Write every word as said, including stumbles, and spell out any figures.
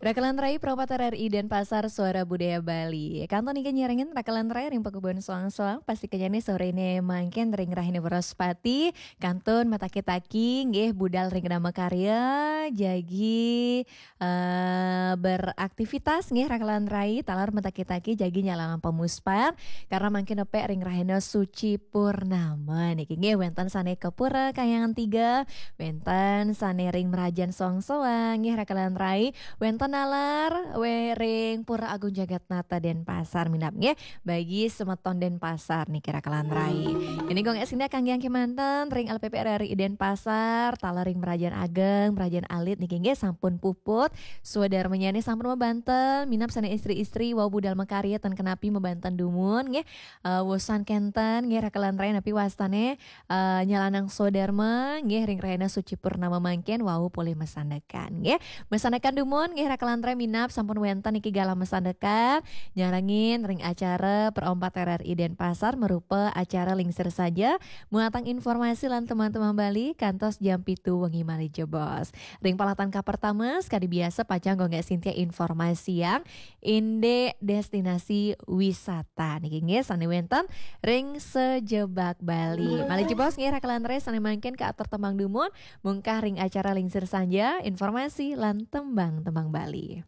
Rakelan Rai, Pro empat R R I Denpasar, Suara Budaya Bali. Kantun niki nyarengin Rakelan Rai ring pakubon soang-soang, pasti kenyane sore ne mangkin ring rahina Wraspati, kantun mataki-taki nggih budal ring Dharma Karya, jagi eh, beraktivitas nggih Rakelan Rai, taler mataki-taki jagi nyalalang pamuspan, karena mangkin nepek ring rahina suci purnama niki nggih wenten sane ka pura Kahyangan Tiga, wenten sane ring mrajan soang-soang nggih Rakelan Rai, wenten nalar we ring Pura Agung Jagatnata Denpasar minab nggih bagi semeton Denpasar niki Rakelan Rai. Ini gong esina kangge kemanten ring L P P R R I Denpasar, taler ring mrajan ageng, mrajan alit niki nggih sampun puput. Swadarmanyane sampun mabanten, minab sane istri-istri wau budal makarya ten kenapi mabanten dumun nggih. Eh, wusan kenten nggih Rakelan Rai napi wastane eh, nyalanang swadarma nggih ring rahina suci purnama mangkin wau polih masandekan nggih. Masandekan dumun nggih Rakelan Rai minab sampun wenten niki galah masandekan nyarengin ring acara Pro empat R R I Denpasar marupa acara lingsir saja muatang informasi lan tembang-tembang Bali kantos jam pitu wengi malih jebos. Ring palatan kapertama, sekadi biasa pacang Gung Gek Sintia informasiang indik destinasi wisata niki nggih sane wenten ring sajebag Bali. Malih jebos nggih Rakelan Rai sane mangkin kaatur tembang dumun mungkah ring acara lingsir saja informasi lan tembang-tembang Bali.